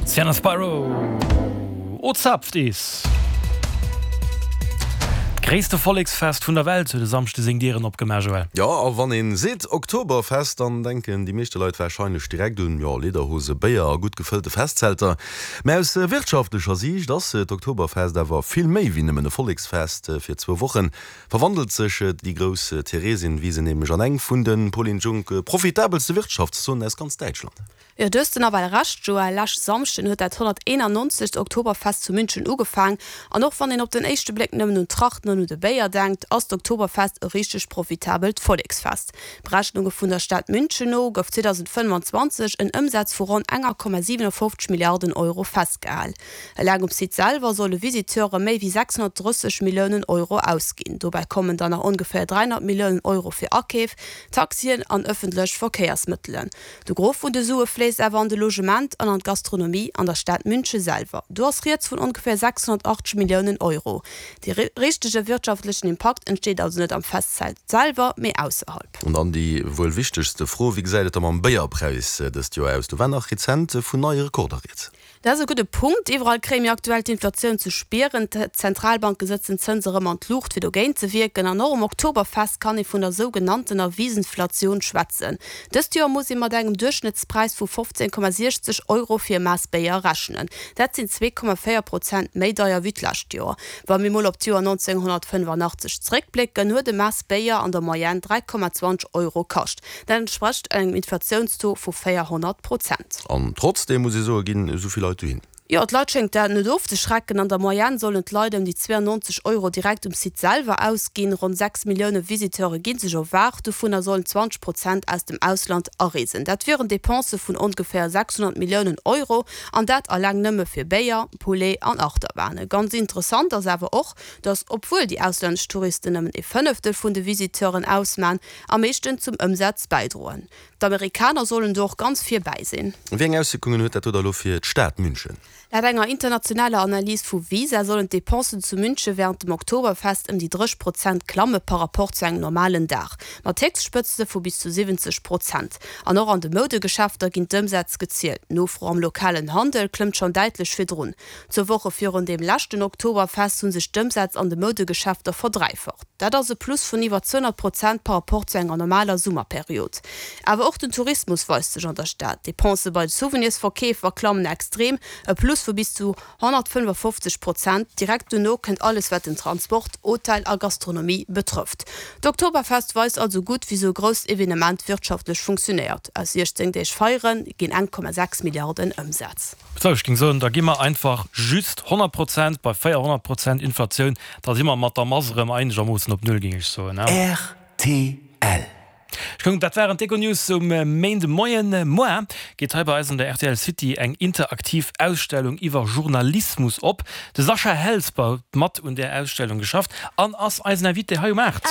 Sienna Spiro, O zapft is! D'gréisste Volleksfest vun der Welt huet e Samschde seng Dieren opgemaach, Joël. Jo, a wann een seet Oktoberfest, dann denken déi meeschte Leit warscheinlech direkt un, jo, Lederhose, Béier a gutt gefëllte Festzelter. Mä aus wirtschaftlecher Siicht ass d'Oktoberfest awer vill méi wéi nëmmen e Volleksfest. Fir zwou Woche verwandelt sech déi grouss Theresienwiese nämlech an eng vun de, Pauline Junck, profitabelste Wirtschaftszonen aus ganz Däitschland. Jo, du hues de nawell Recht, Joël. Leschte Samschden huet dat 191. Oktoberfest zu München ugefaang. An och wann een op den éischte Bléck nëmmen un d'Trachten an un de Béier denkt, ass d'Oktoberfest e richteg profitabelt Volleksfest. Berechnunge vun der Stad München no gouf 2025 en Ëmsaz vu ronn enger Komma 57 Milliarden Euro festgehal. Eleng um Site selwer solle Visiteure méi wéi 630 Milliounen Euro ausginn. Dobäi kommen dann nach ongeféier 300 Milliounen Euro fir Akeef, Taxien an ëffentlech Verkéiersmëttelen. De Gros vun de Sue fléisst awer an de Logement an an d'Gastronomie an der Stad Münche selwer. Do ass rieds vun ongeféier 680 Milliounen Euro. Dee richtege wirtschaftlechen Impakt entsteet also net am Festzelt selwer, mee ausserhalb. An dann déi wuel wichtegste Fro, Wéi gesäit et da mam Béierpräis dëst Joer aus? Do war nach rezent vun neie Rekorder rieds. Dat ass e gudde Punkt. Iwwerall kréie mir aktuell d'Inflatioun ze spieren. D'Zentralbanke sëtzen d'Zënse erëm an d'Luucht, fir dogéint ze wierken. An och um Oktoberfest kann ee vun der sougenanntener Wiesnflation schwätzen. Dëst Joer muss ee mat engem Duerchschnëttspräis vu 15,60 Euro fir e Maass Béier rechnen. Dat sinn 2,4 Prozent méi deier wéi d'lescht Joer. Wa mir mol op d'Joer 1985 zeréckblécken, huet e Maass Béier an der Moyenne 3,20 Euro kascht. Dat entsprécht engem Inflatiounstaux vu 400 Prozent. An trotzdeem, muss ee soen, ginn esou vill Leit dohin. Jo, d'Leit schéngt dat net ofzeschrecken. An der Moyenne sollen d'Leit ëm déi 92 Euro direkt um Site selwer ausginn. Ronn 6 Millioune Visiteure gi sech erwaart, dovunner sollen 20 Prozent aus dem Ausland areesen. Dat wieren Depensë vun ongeféier 600 Milliounen Euro, an dat alleng nëmme fir Béier, Poulet an Achterbahne. Ganz interessant ass awer och, datt obwuel déi auslännesch Touristen nëmmen ee Fënneftel vun de Visiteuren ausman, am meeschten zum Ëmsaz bäidroen. D'Amerikaner sollen do och ganz vir bäi sinn. Wéi eng Auswierkungen huet dat do da lo fir d'Stad München? Laut enger internationaler Analys vu Visa sollen d'Depensen zu Münche wärend dem Oktoberfest ëm déi 30 Prozent klamme par Rapport zu engem normalen Dag, mat Héchstspëtzte vu bis zu 70 Prozent. An och an de Moudegeschäfter ginn d'Ëmsätz gezielt. D'Nofro am lokalen Handel klëmmt schonn däitlech virdrun. Zwou Woche virun deem leschten Oktoberfest hu sech d'Ëmsätz an de Moudegeschäfter verdräifacht. Dat ass e Plus vun iwwer 200 Prozent par Rapport zu enger normaler Summerperiod. Awer och den Tourismus weist sech an der Stad. D'Depensë bei de Souvenirsverkeefer klammen extrem, e Plus vu bis zu 155 Prozent. Direkt dono kënnt alles wat den Transport, Hotel a Gastronomie betrëfft. D'Oktoberfest weist also gutt, wéi sou e grousst Evenement wirtschaftlech funktionéiert. Aus 16 Deeg Feiere ginn 1,6 Milliarden Ëmsaz. Sou, ech géing soen, da gi mer einfach just 100 Prozent bei 400 Prozent Inflatioun, da si mer mat der Mass erëm einegermoossen op Null, géing ech soen. Rtl. Ech kucken, dat waren d'Econews um Méindemoien. Moar geet hei bei eis an der rtl City eng interaktiv Ausstellung iwwer Journalismus op. De Sascha Helsper huet mat un där Ausstellung geschafft an ass eisen Invité hei um 8.